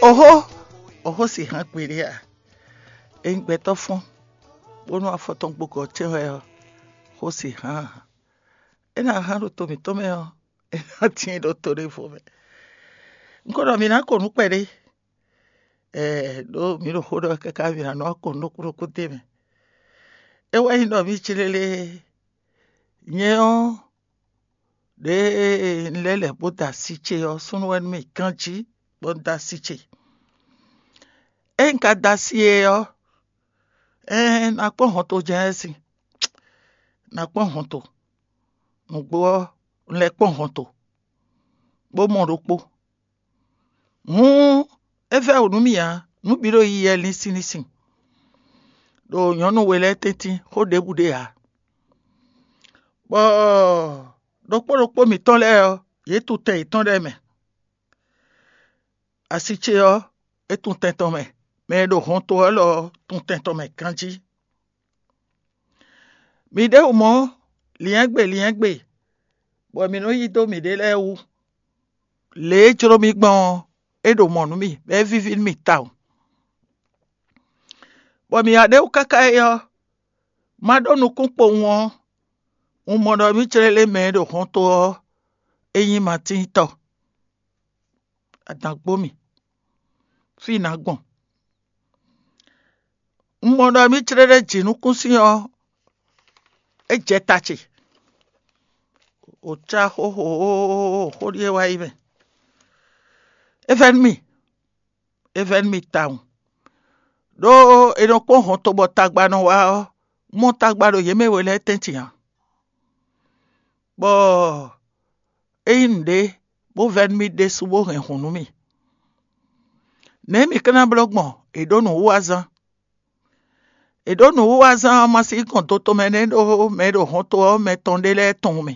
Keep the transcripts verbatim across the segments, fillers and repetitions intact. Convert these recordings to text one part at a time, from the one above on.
Oxó, oxó si hán gbeɖé a? Ényí gbɛtɔ́ fɔ́n bónú afɔ tɔn gbo gɔ̌ cɛ́n wɛ ɔ́, xó si hán ǎ. É ná hán ɖo to mǐtɔn mɛ ɔ́, é ná tíin ɖo to ɖěvo mɛ. Un ko ɖɔ mǐ ná ko nǔ kpɛɖé, ɛɛ ɖó mǐ ɖo xó ɖɔ wɛ káká mǐ ná nɔ wá ko nǔ ɖokpó ɖokpó d'é mɛ. É wɛ nyí ɖɔ mǐ clélé. Nyɛ ɔ́, ɖěe un lɛ́ lɛ̌ bó da asi ce ɔ́, súnnu wɛ nú mì ganjí bɔ un da asi ce. Ée un ka da asi e ɔ́, ɛɛn, ná kpɔ́n hɔnto jɛ́n wɛ sin, ná kpɔ́n hɔnto. Nǔgbó ɔ́, un lɛ́ kpɔ́n hɔnto, bó mɔ ɖokpó. Hǔn é vɛ́ wǔ nú mì ǎ, nǔ bǐ ɖo yiyi wɛ linsin linsin, ɖo nyɔ̌nu we lɛ́ɛ tɛ́ntin xó ɖěbǔ ɖe ǎ. Bɔ ɖokpó ɖokpó mǐtɔn lɛ́ɛ ɔ́, yě tun tɛn yětɔn lɛ́ɛ mɛ. Asi ce ɔ́, é tun tɛn tɔn mɛ; mɛ e ɖo hɔnto ɔ́ lɔ ɔ́ tun tɛn tɔn mɛ ganjí. Mǐ ɖěbǔ mɔ, lyɛ̌ngbe lyɛ̌ngbe, bɔ mǐ nɔ yí dó mǐɖée lɛ́ɛ wú. Lě e jló mì gbɔn ɔ́, é ɖo mɔ̌ nú mì, bɔ é víví nú mì tawun. Bɔ mǐ wá ɖ'é wú káká é ɔ́, ma ɖó nukún kpowun ɔ́, un mɔ ɖɔ mǐ clélé mɛ e ɖo hɔnto ɔ́, é nyí Matín tɔ́. Adǎn gbó mì, fí ná gbɔn. Un mɔ ɖɔ mǐ clélé jǐnukúnsin ɔ́, é jɛ ta ce. Wǒ cá xóxó xó ɖíe wá yi mɛ. É vɛ́ nú mì, é vɛ́ nú mì tawun. Ɖó è nɔ kpɔ́n hɔnto bɔ tagba nɔ wá ɔ́, mɔ tagba ɖo yě mɛ we lɛ́ɛ tɛ́ntin ǎ. Bɔ é nyí nǔɖé, bó vɛ́ nú mì ɖésú, bó hɛn hǔn nú mì. Nɛ̌ mǐ ka ná blɔ́ gbɔn? È ɖǒ nǔwiwa zán. È ɖǒ nǔwiwa zán ɔ́, ma sí gɔn do tɔn mɛ nɛ́ ɖó mɛ e ɖo hɔnto ɔ́ mɛ tɔn ɖé lɛ́ɛ tunwun mì.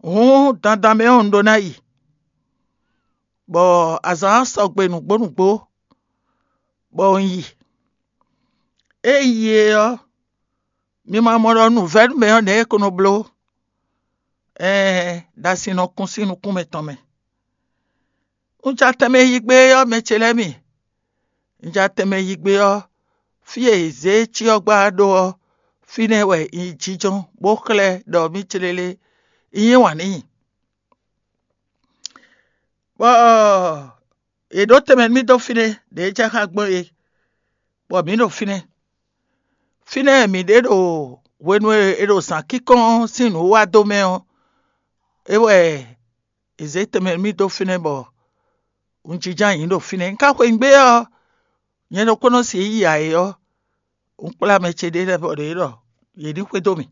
Hǔn dandan mɛ ɔ́, un ɖó ná yi, bɔ azǎn ɔ́ sɔgbe nǔgbó nǔgbó, bɔ un yi. Ée un yi é ɔ́, mi ma mɔ ɖɔ nǔvɛ́nú mɛ ɔ́ nɛ̌ é ko nɔ bló? Ɛɛn, ɖo asi nɔ kún sín nukún mɛtɔn mɛ. Un ja tɛnmɛ yi gbé ɔ́, mɛ ce lɛ́ɛ mi, un ja tɛnmɛ yi gbé ɔ́, fí e è zě cyɔ́gbá ɖó ɔ́, fínɛ́ wɛ un yi jínjɔ́n, bó xlɛ́ ɖɔ mǐ clélé un yí wǎn n'i. Bɔ è ɖǒ tɛnmɛ nú mì dó fínɛ́, ɖě jɛ xá gbɔn é, bɔ mǐ ɖo fínɛ́. Fínɛ́ mǐ ɖe ɖo hwenu e è ɖo zǎn kínkɔ́n sín nǔ wa dó mɛ ɔ́, é wɛ è zě tɛnmɛ nú mì dó fínɛ́ bɔ un jínjɔ́n ayǐ ɖo fínɛ́. Un ka xweyǐgbe ɔ́, nyɛ ɖokpónɔ si e yí ǎ é ɔ́, un kplá mɛ ce ɖé lɛ́ɛ bɔ ɖě ɖɔ yě ní xwedó mì,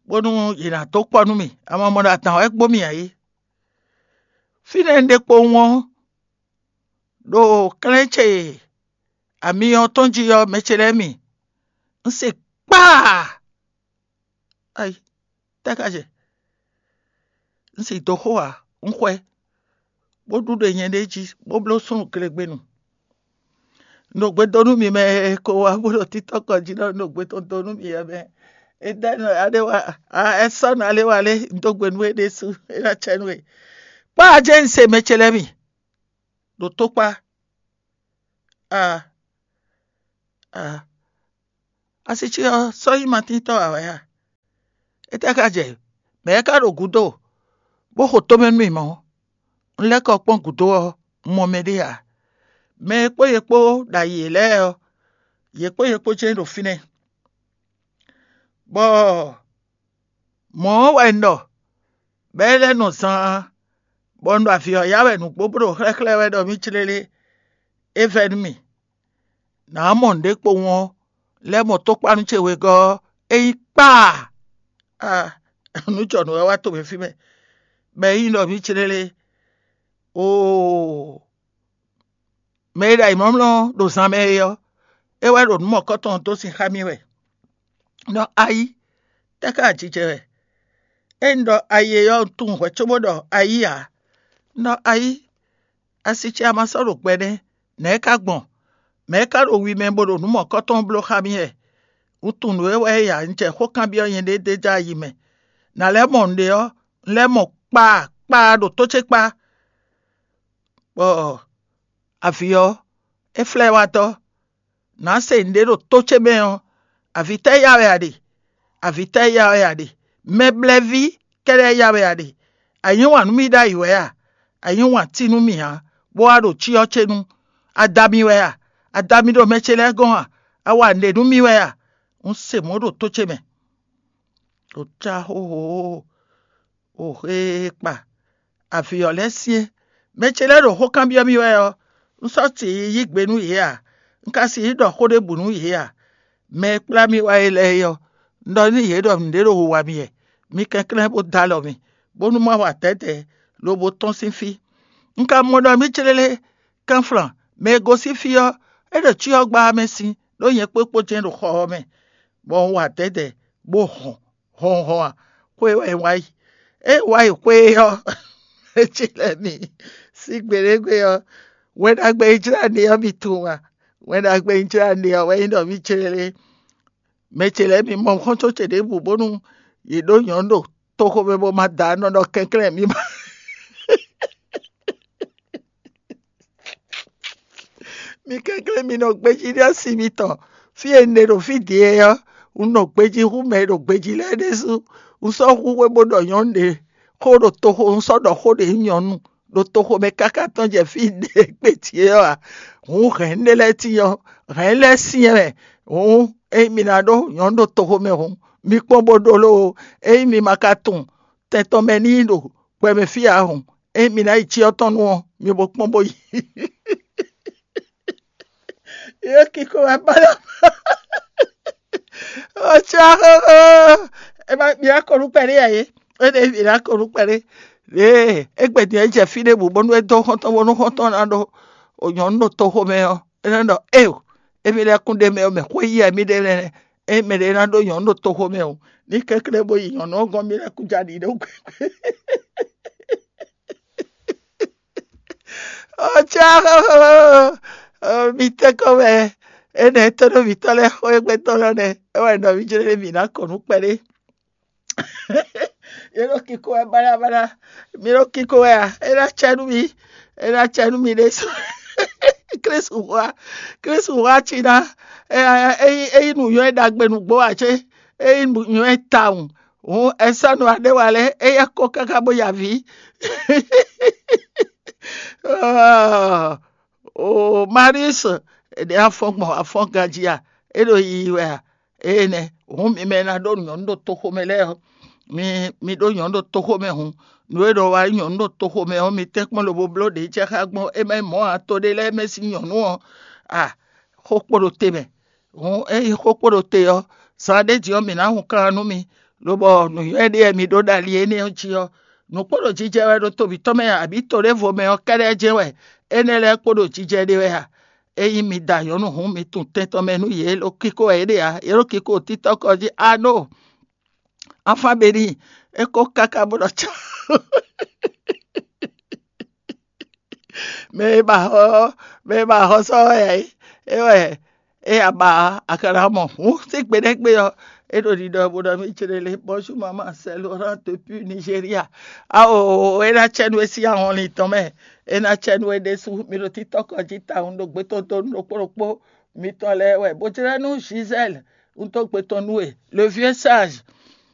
bónú yě ná dó kpɔ́ nú mì. Ama mɔ ɖo adǎn wɛ kpó mì ǎ é. Fínɛ́ un ɖe kpowun ɔ́, ɖo klɛ́n ce ami ɔ́ tɔn jí ɔ́, mɛ ce lɛ́ɛ mi, un se kpaa. Ayi, tɛ́ ka jɛ? Un si dó xo ǎ, un xwɛ, bó ɖu ɖe nyɛɖée jí, bó bló súnnu glegbenu. Un ɖo gbe dó nú mi mɛ e ko wá bó ɖo títɔ́ kɔ jí ɖɔ un ɖo gbe tɔn dó nú mi ɔ́ mɛ. Edɛ́nu alé wa, ɛsɔ́nu alé wa lé, un dó gbe nú we ɖésú, é ná cɛ nú we. Kpá ajé un se mɛ ce lɛ́ɛ mi ɖo tó kpá. Aa, aa, asi ce ɔ́ sɔ́ nyí Matín tɔ́ ǎ wɛ a? Étɛ́ ka jɛ? Mɛ̌ ka ɖo gǔdo, bó xo tomɛ nú mì mɔ̌? Un lɛ́ kɔ kpɔ́n gǔdo ɔ́, un mɔ mɛɖé ǎ. Mɛ e kpó yě kpó ɖo ayǐ lɛ́ɛ ɔ́, yě kpó yě kpó jɛ́n ɖo fínɛ́. Bɔ mɔ̌ ɔ́ wɛ un ɖɔ, bɔ é lɛ́ nɔ zaan, bɔ un ɖo avǐ ɔ́ ya wɛ nǔgbó bó ɖo xlɛ́xlɛ́ wɛ ɖɔ mì clélé, é vɛ́ nú mì. Nǎ mɔ nǔɖé kpowun ɔ́, lɛ́ mɔ tókpánu ce wegɔ́ ɔ́, é nyí kpaa. Aa, nǔ jɔnǔ wɛ wá to mɛ fí mɛ, bɔ é nyí ɖɔ mì clélé. Oo, mɛ e ɖo ayǐmlɔ́mlɔ́ ɖo zan mɛ é ɔ́, é wɛ ɖo nǔ mɔ̌kɔtɔn dó sin xá mì wɛ. Nɔ ayí, tɛ́ ká jijɛ wɛ? Ényí ɖɔ ayí é ɔ́, un tunwun hwɛ̌ cóbó ɖɔ ayí ǎ. Nɔ ayí, asi ce a ma sɔ́ ɖo gbɛ nɛ́, nɛ̌ é ka gbɔn? Mɛ̌ é ka ɖo wi mɛ bó ɖo nǔ mɔ̌kɔtɔn bló xá mì wɛ? Un tunwun nǔ e wɛ é ya, un jɛ xó kanbyɔ́ nyɛɖée d'é jɛ ayi mɛ. Nǎ lɛ́ mɔ nǔɖé ɔ́, un lɛ́ mɔ kpaa kpaa ɖo tó ce kpá. Ɔ, avǐ ɔ́, é flɛ́ wá tɔ́. Nǎ se nǔɖé ɖo tó ce mɛ ɔ́, avǐ tɛ́ ya wɛ a ɖe? Avǐ tɛ́ ya wɛ a ɖe? Mɛblɛ́ví kɛ́ɖɛ́ ya wɛ a ɖe? A yí wǎn nú mì ɖ'ayǐ wɛ a? A yí wǎn tí nú mì ǎ, bó wá ɖo cyɔ ce nu. A da mì wɛ a? A da mì ɖo mɛ ce lɛ́ɛ gɔ́n a? A wa nǔɖé nú mì wɛ a? Un se mɔ̌ ɖo tó ce mɛ. Ɖo cá xóxó, o xé kpa avǐ ɔ́ lɛ́ɛ syɛ́n. Mɛ ce lɛ́ɛ ɖo xó kanbyɔ́ mì wɛ ɔ́, un sɔ́ si yi yí gbe nú yě a? Un ka sixú ɖɔ xó ɖěbǔ nú yě a? Mɛ e kplá mì wá é lɛ́ɛ é ɔ́, un ɖɔ nú yě ɖɔ nǔɖé ɖo wiwa mì wɛ. Mi kɛnklɛ́n bó dó alɔ mì, bónú má wa dɛ̌dɛ̌, lobo tɔ́n sín fí. Un ka mɔ ɖɔ mì clélé kanflan mɛ e gosín fí ɔ́, é ɖo cyɔ gbá mɛ sín, ɖó nyɛ kpókpó jɛ́n ɖo xɔ ɔ́ mɛ, bɔ un wa dɛ̌dɛ̌, bó hɔn hɔnhɔn a? Xwé wɛ un wá yi. É un wá yi xwé ɔ́, é ce lɛ́ɛ mi sín gbeɖégbé ɔ́, Wɛn Ɖagbe e jlá ne ɔ́ mi tunwun a? Wɛn Ɖagbe e jlá ne ɔ́ wɛ nyí ɖɔ mì clélé. Mɛ ce lɛ́ɛ mi mɔ xɔ́ntɔn ce ɖěbǔ bónú yě ɖó nyɔ̌nu ɖo toxo mɛ bó ma da nɔ ɖɔ kɛnklɛ́n mi ma. Mi kɛnklɛ́n mi nɔ gbéjí ɖe asi mitɔn. Fí e un ɖe ɖo fí din é ɔ́, un nɔ gbejí hú mɛ e ɖo gbejí lɛ́ɛ ɖésú. Un sɔ́ hu xwé bó ɖɔ nyɔ̌nu ɖě xó ɖo toxo, un sɔ́ ɖɔ xó ɖě nyí nyɔ̌nu ɖo toxo mɛ káká tɔn jɛ fí ɖě gbe ce ɔ́ ǎ. Hǔn hɛ̌nnu ɖé lɛ́ɛ tíin ɔ́, hɛ̌nnu lɛ́ɛ syɛ́n mɛ. Hǔn ényí mi ná ɖó nyɔ̌nu ɖo toxo mɛ hǔn, mi kpɔ́n bó ɖó lóo. Ényí mi ma ka tunwun tɛn tɔn mɛ ní ɖo gbɛ mɛ fí ǎ hǔn, ényí mi ná yi cyɔ tɔn nu ɔ́, mi bo kpɔ́n bó yi. Yě kíkó wɛ ba ɖɔ. Ɔ́ cá xóxó. Ɛ má mi ná kɔ nú kpɛɖé ǎ é. É ɖě mi ná kɔ nú kpɛɖé. Ɖěe é gbɛ din ɔ́, é jɛ fí ɖěbǔ bónú é dó xɔ́ntɔn bónú xɔ́ntɔn ná ɖó nyɔ̌nu ɖo toxo mɛ ɔ́, é nɔ́ ɖɔ éeǒ, émí lɛ́ɛ kún ɖ'é mɛ ɔ́ mɛ xwé yí wɛ mì ɖe lɛ́ɛ. Ényí mɛɖé ná ɖó nyɔ̌nu ɖo toxo mɛ o, ní kɛnklɛ́n bó yi nyɔ̌nu ɔ́ gɔ́n, mì lɛ́ kún ja ɖi ɖó gbɛgbɛ. Ɔ́ cá xóxó. Mi tɛ́nkɔ́n wɛ énɛ́ tɔ́ ɖo mǐtɔn lɛ́ɛ xó e gbɛtɔ́ lɔ nɛ́. É wɛ ɖɔ mì jlé ɖé mǐ ná kɔ nǔ kpɛɖé. Yě ɖo kíkó wɛ báɖábáɖá. Mi ɖo kíkó wɛ a? É ná cɛ nú mi. É ná cɛ nú mi ɖésú. Klísu hwa, Klísu hwa cí ná. Ényí ényí nǔnywɛ́ ɖagbe nǔgbó ǎ cé? Ényí nǔnywɛ́ tawun, hǔn ɛsɛ́nu aɖéwa lɛ́ɛ éyɛ́ kɔ káká bó ya avǐ. Oo, Marius, è ɖe afɔ́n gbɔn afɔ́n ganjí a? É ɖo yiyi wɛ a? Énɛ́ hǔn mi mɛ e ná ɖó nyɔ̌nu ɖo toxo mɛ lɛ́ɛ ɔ́, mi mi ɖó nyɔ̌nu ɖo toxo mɛ hǔn. Nǔ e nɔ wa nyí nyɔ̌nu ɖo toxo mɛ ɔ́, mi tɛ́nkpɔ́n lobo bló ɖě jɛ xá gbɔn é má nyí mɔ̌ ǎ. To ɖé lɛ́ɛ mɛ sín nyɔ̌nu ɔ́, a xó kpo ɖo te mɛ. Hǔn ényí xó kpo ɖo te ɔ́, zan ɖé din ɔ́, mǐ ná hun kan nú mi, lobɔ nǔnywɛ́ ɖé wɛ mi ɖó ɖo ali énɛ́ ɔ́ jí ɔ́, nǔ kpo ɖo jijɛ wɛ ɖo to mǐtɔn mɛ abǐ to ɖěvo mɛ ɔ́ kɛ́ɖɛ́ jɛ́n wɛ énɛ́ lɛ́ɛ kpo ɖo jijɛ ɖe wɛ a? Ényí mi da nyɔ̌nu hǔn, mi tunwun tɛn tɔn mɛ nú yě, lo kíkó wɛ yě ɖe ǎ. Yě ɖo kíkó títɔ́ kɔ jí. Anó, afán be n'i, é kó káká bó ɖɔ cá. Mɛ e ba xɔ, mɛ e ba xɔ sɔ́ wɛ ǎ é, é wɛ é ya ba a ka ná mɔ hǔn sín gbe nɛ́ gbe ɔ́, é ɖo ɖiɖɔ bó ɖɔ mì céɖélé. Bonjour maman, c'est Laurent depuis Nigeria. Ao, é ná cɛ nú é sín ahɔnlin tɔn mɛ. É ná cɛ nú é ɖésú. Mi ɖo títɔ́ kɔ jí tawun ɖo gbɛtɔ́ donu ɖokpó ɖokpó mitɔn lɛ́ɛ wɛ. Bó jlɛ́ nú Gisèle, un dó gbe tɔn nú we. Le vieux sage,